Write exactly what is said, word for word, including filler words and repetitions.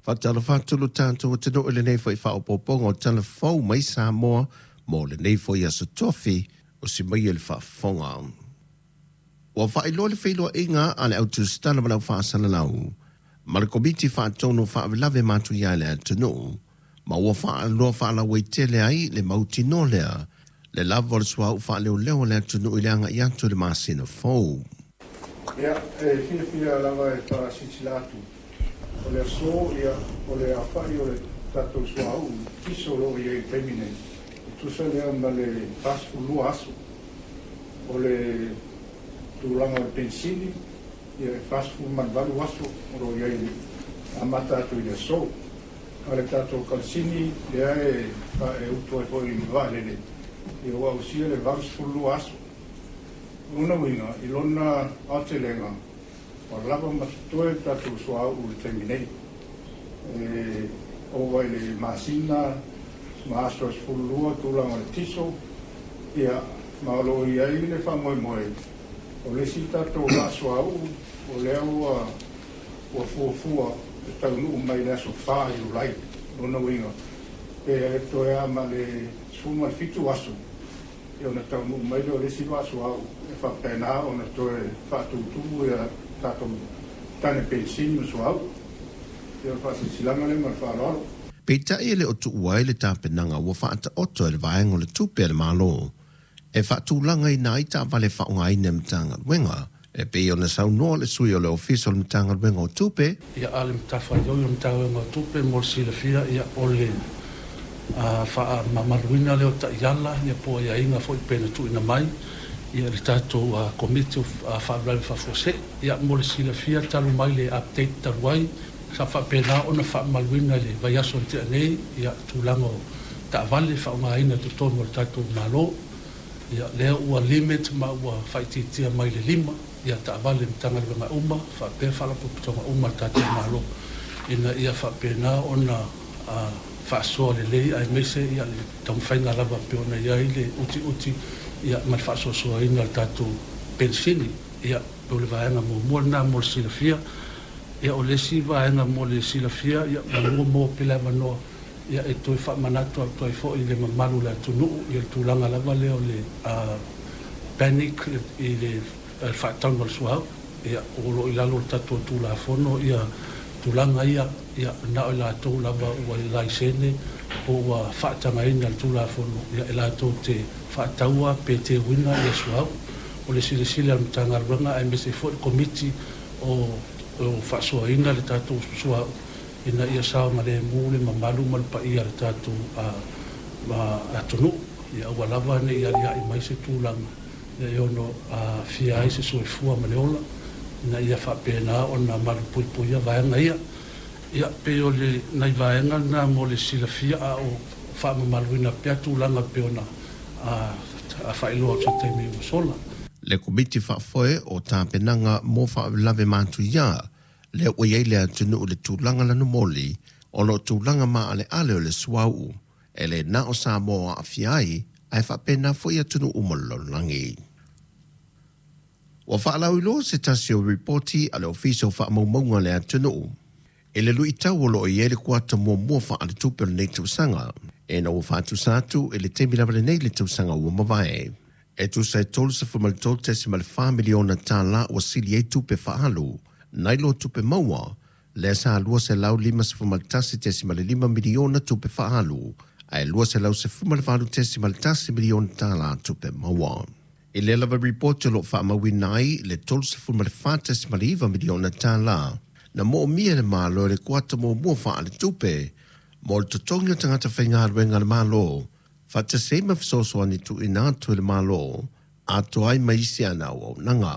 Faatalofa atu lo tatou atunuu i lenei foi faaopoopoga o Tala Fou mai Samoa mo lenei foi aso Tofi o si mai le faafofoga. Ua faailoa le feiloaiga a le au tusitala ma le au faasalalau ma le Komiti Faatonu o Faalavelave Matuia i le atunuu, ma ua faailoa faalauaitele ai le mautinoa lea le lava o le suauu faaleoleo o le atunuu i le agai atu i le masina fou. Ia, e fiafia lava e faasilasila atu, o le aso, ia, o le aofai o le tatou suauu tiso o lo o i ai i le taimi nei, e tusa lea ma le fasefulu lua aso. O le tulaga o le penisini, ia, e fasefulu ma le valu aso o lo o i ai amata atu i le aso. A o le tatou kalasini lea e, e utu ai foi i le vaalele, ia, ua ausia le valusefulu lua aso. O lona uiga, i lona aotelega, ua lava ma totoe le tatou suauu i le taimi nei. E ova i le masina ma aso e sefulu lua tulaga o le tiso, ia, ma o lo o i ai le faamoemoe o le isi tatou vaa suauu o lea ua ua fuafua e taunuu mai i le aso fa Iulai. Lona uiga, pe toe a ma le sefulu ma le fitu aso, ia, ona taunuu mai lea o le isi vaa suauu e faapena ona toe faatutumu ia tatou tane penisini ma suauu. Ia, o le faasilasilaga lea ma le faaaloalo. Peitai e le o tuua ai le tapenaga ua faataoto e le vaega o le tupe a le Malo e faatulagaina ai taavale faaaogaina e Matagaluega, e pei ona saunoa le sui o le Ofisa o le Matagaluega o Tupe. Ia, a le matafaioi o le Matagaluega o Tupe mo le silafia, ia, o le faamamaluina lea o taiala, ia, po o aiaiga foi pe na tuuina mai ia le tatou Komiti o Faalavelave Faafuasei. Ia, mo le silafia, talu mai le update talu ai sa faapena ona faamamaluina i le vaiaso na tea nei, ia, tulaga o taavale faaaogaina i totonu o le tatou Malo, ia, lea ua limit ma ua faaitiitia mai le lima ia taavale Matagaluega uma faapea faalapotopotoga uma a le tatou Malo, ina ia faapena ona faasoa lelei aemaise ia le taumafaiga lava pei ona i ai le utiuti, ia, ma le faasoasoaina o le tatou penisini. Ia, o le vaega muamua lena mo le silafia. Ia, o le isi vaega mo le silafia, ia, manua maua pea le avanoa, ia, e toe faamanatu atu ai foi i le mamalu o le atunuu, ia, le tulaga lava lea o le panic i le faatauga o le suauu. Ia, o lo o i lalo o le tatou Tulafono ia tulaga ia, ia, na o i latou lava ua laisene po ua faatagaina le Tulafono, ia, e latou te faataua pe teuina ia suauu. O le silasila a le Matagaluega aemaise foi le Komiti o o faasoaina le tatou suauu, ina ia saogalemu le mamalu ma le paia o le tatou atunuu, ia aua lava ne i aliae mai se tulaga e ono aafia ai se soifua ma le ola, ina ia faapena ona malupuipuia vaega ia. Ia, pei o le nai vaega lena mo le silafia, a o faamamaluina pea tulaga pei ona faailoa atu i se taimi ua sola. Le Komiti Faafoe o Tapenaga mo Faalavelave Matuia, lea ua i ai le atunuu i le tulaga lanumoli ona o tulaga maaleale o le suauu, e le na o Samoa aafia ai, ae faapena foi atunuu uma o le lalolagi. Ua faalauiloa se tasi o ripoti a le Ofisa o Faamaumauga a le atunuu i le luitau o lo o i ai le kuata muamua faaletupe o lenei tausaga, ina ua faatusa atu i le taimi lava lenei i le tausaga ua mavae. E tusa e tolusefulu tolu tesi fa miliona tala ua sili ai tupe faaalu nai lo tupe maua, lea sa lua selau lima tasi tesi lima miliona tupe faaalu, ae lua selau sefulu valu tesi tasi miliona tala tupe maua. I lea lava ripoti o lo o faamauina ai le tolusefulu fa tesi iva miliona tala na moomia e le Malo i le kuata muamua faaletupe mo le totogi o tagata faigaluega a le Malo, faatasi ai ma fesoasoani tuuina atu e le Malo atoa ai ma isi ana auaunaga.